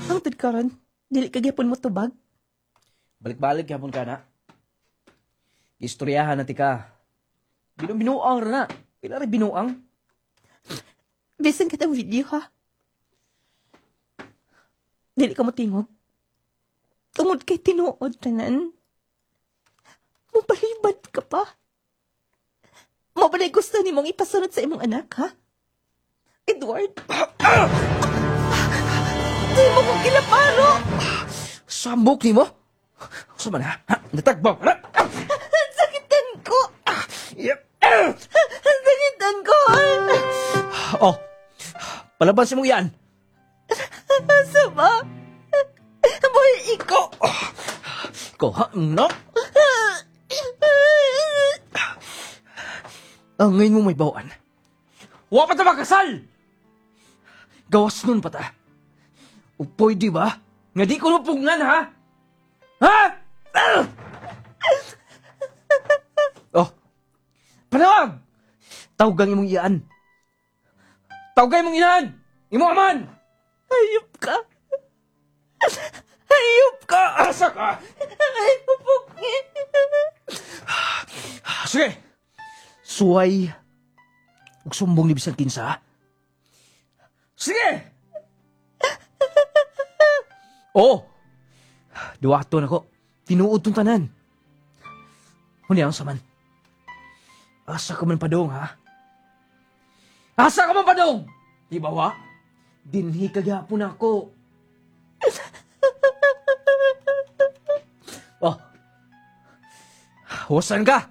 Hangtod karon, dili ka gyapon mo tubag. Balik-balik gyapon ka na. Istoryahan na tika. Binuang ra na. Pila ra binuang? Bisan kitang video ha. Dili ka mo tingog. Tungod kay tinuod tanan. Mupalibad ka pa. Mo ba na gusto ni mong ipasunod sa imong anak, ha? Edward? Di mo kong kilaparo! Sambok nimo? Sa man ha? Ha? Natagbaw ka na? Ang sakitan ko! Yep. Ang sakitan ko! Oh. Palaban sa imong yan. Asa ba? Boy, ikaw! Ko ha? No? Ang ngayon mo may bawaan. Wa pa ta makasal! Gawas nun pa ta. O pwede ba? Nga di ko mapugnan, ha? Ha? Ah! Oh. Panawag! Tawgang imong iyaan. Tawgang imong inahan! Imong aman! Hayop ka! Hayop ka! Asa ka? Ay, pupok. Sige! Suway. Ug sumbong ni bisan kinsa, ha? Sige! Oo! Duwato na ko. Tinuod tong tanan. Huni ang saman. Asa ka man padong, ha? Asa ka man padong? Di ba wa? Dinhi ka gyapon ako. Oh. Wasan ka?